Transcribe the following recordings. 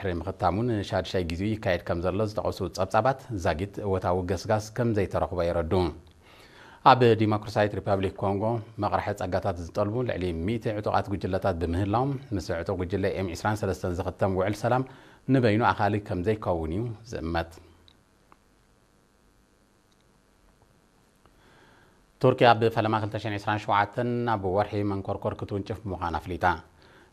ድሕሪ ምኽታሙ ንሻድሻይ ግዜኡ ይካየድ ከም ዘሎ ዝጠቐሱ ጸብጻባት፣ ዛጊት እወታዊ ገስጋስ ከም ዘይተረኽቦ የረድኡ። ኣብ ዲሞክራሲያዊት ሪፐብሊክ ኮንጎ መቕርሒ ጸጋታት ዝጠልቡ ልዕሊ ሚእቲ ዕጡቓት ጉጅለታት ብምህላዎም፣ ምስ ዕጡቕ ጉጅለ ኤም ዕስራን ሰለስተን ዝኽተም ውዕል ሰላም ንበይኑ ኣኻሊ ከም ዘይከውን እዩ ዝእመት። ቱርኪ ኣብ ፈለማ ክልተ ሽሕን ዕስራን ሸውዓተን ኣብ ወርሒ መንኮርኮር ክትውንጭፍ ምዃና ኣፍሊጣ።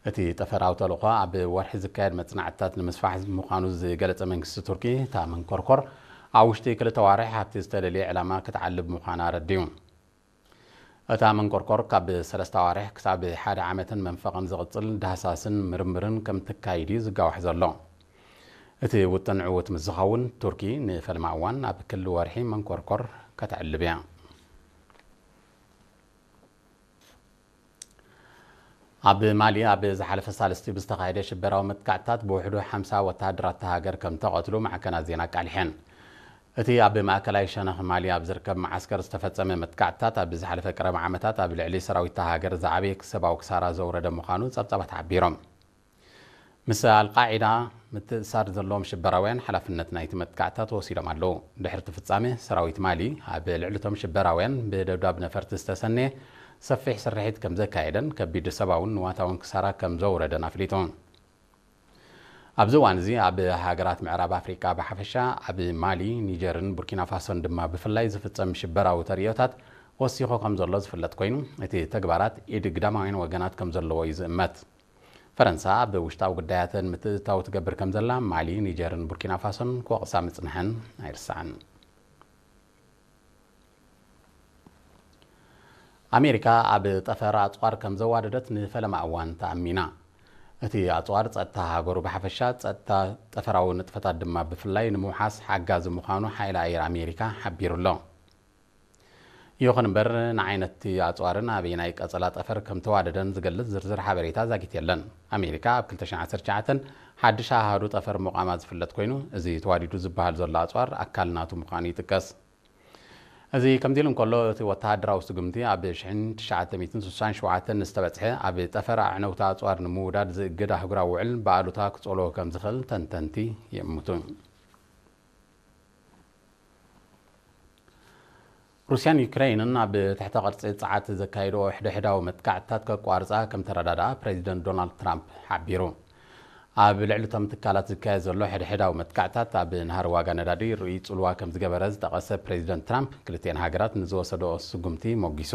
እቲ ጠፈራዊ ተልእኾ ኣብ ወርሒ ዝካየድ መጽናዕትታት ንምስፋሕ ምዃኑ ዝገለጸ መንግስቲ ቱርኪ፣ እታ መንኮርኮር ኣብ ውሽጢ ክልተ ኣዋርሕ ኣብቲ ዝተደልየ ዕላማ ክትዓልብ ምዃና ኣረዲኡ። እታ መንኮርኮር ካብ ሰለስተ ኣዋርሕ ክሳብ ሓደ ዓመትን መንፈቕን ዝቕጽል ዳህሳስን ምርምርን ከም ትካይድ እዩ ዝጋዋሕ ዘሎ። እቲ ውጥን ዕዉት ምስ ዝኸውን፣ ቱርኪ ንፈለማ እዋን ኣብ ክሊ ወርሒ መንኮርኮር ከተዕልብ እያ። ኣብ ማሊ ኣብ ዝሓለፈ ሳልስቲ ብዝተኻየደ ሽበራዊ መጥቃዕትታት ብውሕዱ ሓምሳ ወተሃደራት እታ ሃገር ከም ተቐትሉ ማዕከናት ዜና ኣቃሊሐን። እቲ ኣብ ማእከላይ ሸነኽ ማሊ ኣብ ዝርከብ መዓስከር ዝተፈጸመ መጥቃዕትታት፣ ኣብ ዝሓለፈ ቀረባ ዓመታት ኣብ ልዕሊ ሰራዊት እታ ሃገር ዝዓበየ ሰብኣዊ ክሳራ ዘውረደ ምዃኑ ጸብጻባት ሓቢሮም። ምስ ኣልቃዒዳ ምትእሳር ዘለዎም ሽበራውያን ሓላፍነት ናይቲ መጥቃዕትታት ወሲዶም ኣለዉ። ድሕሪ እቲ ፍጻሜ፣ ሰራዊት ማሊ ኣብ ልዕሊ እቶም ሽበራውያን ብደብዳብ ነፈርቲ ዝተሰነየ ሰፊሕ ስርሒት ከም ዘካየደን ከቢድ ሰብኣውን ንዋታውን ክሳራ ከም ዘውረደን ኣፍሊጡ። ኣብዚ እዋን እዚ ኣብ ሃገራት ምዕራብ ኣፍሪቃ ብሓፈሻ፣ ኣብ ማሊ፣ ኒጀርን ቡርኪና ፋሶን ድማ ብፍላይ ዝፍጸም ሽበራዊ ተርእዮታት ወሲኹ ከም ዘሎ ዝፍለጥ ኮይኑ፣ እቲ ተግባራት ኢድ ግዳማውያን ወገናት ከም ዘለዎ እዩ ዝእመት። ፈረንሳ ኣብ ውሽጣዊ ጉዳያተን ምትእትታው ትገብር ከም ዘላ ማሊ፣ ኒጀርን ቡርኪና ፋሶን ክወቕሳ ምጽንሐን ኣይርሳዕን። ኣሜሪካ ኣብ ጠፈር ኣጽዋር ከም ዘዋደደት ንፈለማ እዋን ተኣሚና። እቲ ኣጽዋር ጸጥታ ሃገሩ ብሓፈሻ፣ ጸጥታ ጠፈራዊ ንጥፈታት ድማ ብፍላይ ንምውሓስ ሓጋዚ ምዃኑ ሓይሊ ኣየር ኣሜሪካ ሓቢሩ ኣሎ። ይኹን እምበር፣ ንዓይነት'ቲ ኣጽዋርን ኣበየናይ ቀጸላ ጠፈር ከም ተዋደደን ዝገልጽ ዝርዝር ሓበሬታ ዛጊት የለን። ኣሜሪካ ኣብ ክልተ ሽሕን ዓሰርተ ትሽዓተን ሓድሽ ኣሃዱ ጠፈር ምቋማ ዝፍለጥ ኮይኑ፣ እዚ ተዋዲዱ ዝበሃል ዘሎ ኣጽዋር ኣካል ናቱ ምዃኑ ይጥቀስ። እዚ ከምዚ ኢሉ እንከሎ፣ እቲ ወተሃደራዊ ስጉምቲ ኣብ ሽሕን ትሽዓተ ሚእትን ስሳን ሸውዓተን ዝተበጽሐ ኣብ ጠፈር ኣዕነውቲ ኣጽዋር ንምውዳድ ዝእግድ ኣህጉራዊ ውዕል ብኣሉታ ክጸልዎ ከም ዝኽእል ተንተንቲ ይእምቱ። ሩስያን ዩክሬንን ኣብ ትሕተ ቅርጺ ጸዓት ዘካየድኦ ሕድሕዳዊ መጥቃዕትታት ከቋርጻ ከም ተረዳድኣ ፕሬዚደንት ዶናልድ ትራምፕ ሓቢሩ። ኣብ ልዕሊ እቶም ትካላት ዝካየድ ዘሎ ሕድሕዳዊ መጥቃዕትታት ኣብ ናህሪ ዋጋ ነዳዲ ርኡይ ጽልዋ ከም ዝገበረ ዝጠቐሰ ፕሬዚደንት ትራምፕ፣ ክልቲኤን ሃገራት ንዝወሰድኦ ስጉምቲ ሞጊሱ።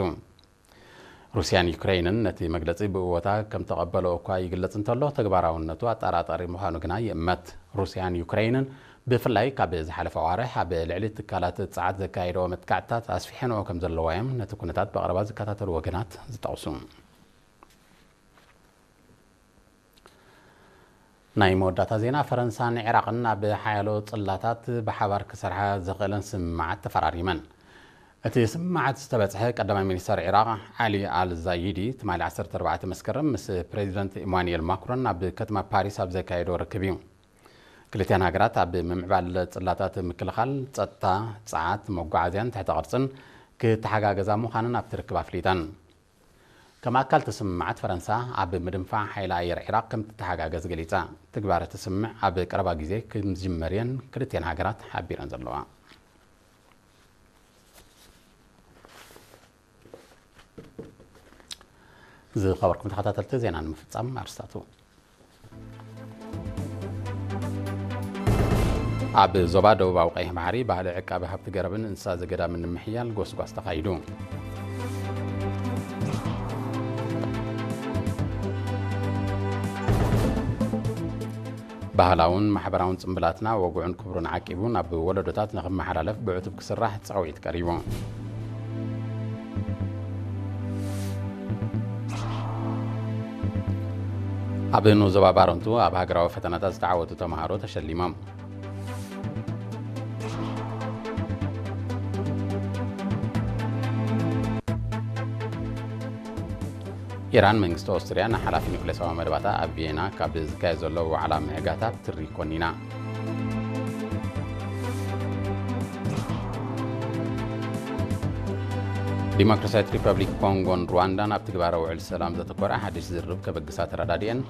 ሩስያን ዩክሬንን ነቲ መግለጺ ብእወታ ከም ተቐበልኦ እኳ ይግለጽ እንተሎ፣ ተግባራውነቱ ኣጠራጣሪ ምዃኑ ግና ይእመት። ሩስያን ዩክሬንን ብፍላይ ካብ ዝሓለፈ ኣዋርሕ ኣብ ልዕሊ ትካላት ጸዓት ዘካየድኦ መጥቃዕትታት ኣስፊሐንኦ ከም ዘለዋ እዮም ነቲ ኩነታት ብቐረባ ዝከታተሉ ወገናት ዝጠቕሱ። ናይ መወዳእታ ዜና። ፈረንሳን ዒራቕን ኣብ ሓያሎ ጽላታት ብሓባር ክሰርሓ ዘኽእለን ስምምዓት ተፈራሪመን። እቲ ስምምዓት ዝተበጽሐ ቀዳማይ ሚኒስተር ዒራቕ ዓሊ ኣል ዛይዲ ትማሊ ዓሰርተ ኣርባዕተ መስከረም ምስ ፕሬዚደንት ኢማኑኤል ማክሮን ኣብ ከተማ ፓሪስ ኣብ ዘካየዶ ርክብ እዩ። ክልቲኣን ሃገራት ኣብ ምምዕባል ጽላታት ምክልኻል፣ ጸጥታ፣ ጸዓት፣ መጓዓዝያን ትሕተ ቅርጽን ክተሓጋገዛ ምዃነን ኣብቲ ርክብ ኣፍሊጠን። ከም ኣካል እቲ ስምምዓት፣ ፈረንሳ ኣብ ምድንፋዕ ሓይሊ ኣየር ዒራቕ ከም ትተሓጋገዝ ገሊጻ። ትግባረ እቲ ስምምዕ ኣብ ቀረባ ግዜ ከም ዝጅመር እየን ክልቲኤን ሃገራት ሓቢረን ዘለዋ። ዝኸበርኩም ተኸታተልቲ፣ ዜና ንምፍጻም ኣርስታቱ። ኣብ ዞባ ደቡባዊ ቀይሕ ባሕሪ ባህሊ ዕቃቢ ሃብቲ ገረብን እንስሳ ዘገዳምን ንምሕያል ጎስጓስ ተኻይዱ። ባህላውን ማሕበራውን ጽምብላትና ወግዑን ክብሩን ዓቂቡ ናብ ወለዶታት ንኽመሓላለፍ ብዕቱብ ክስራሕ ጻውዒት ቀሪቡ። ኣብ ንዞባ ባረንቱ ኣብ ሃገራዊ ፈተናታት ዝተዓወቱ ተምሃሮ ተሸሊሞም። ኢራን መንግስቲ ኦስትርያ ንሓላፊ ኒውክሌሳዊ መደባታ ኣብ ቪየና ካብ ዝካየድ ዘሎ ዋዕላ ምዕጋታ ትሪ ኮኒና። ዲሞክራሲያዊት ሪፐብሊክ ኮንጎን ሩዋንዳን ኣብ ትግባረ ውዕል ሰላም ዘተኮረ ሓድሽ ዝርርብ ከበግሳ ተረዳዲኤን።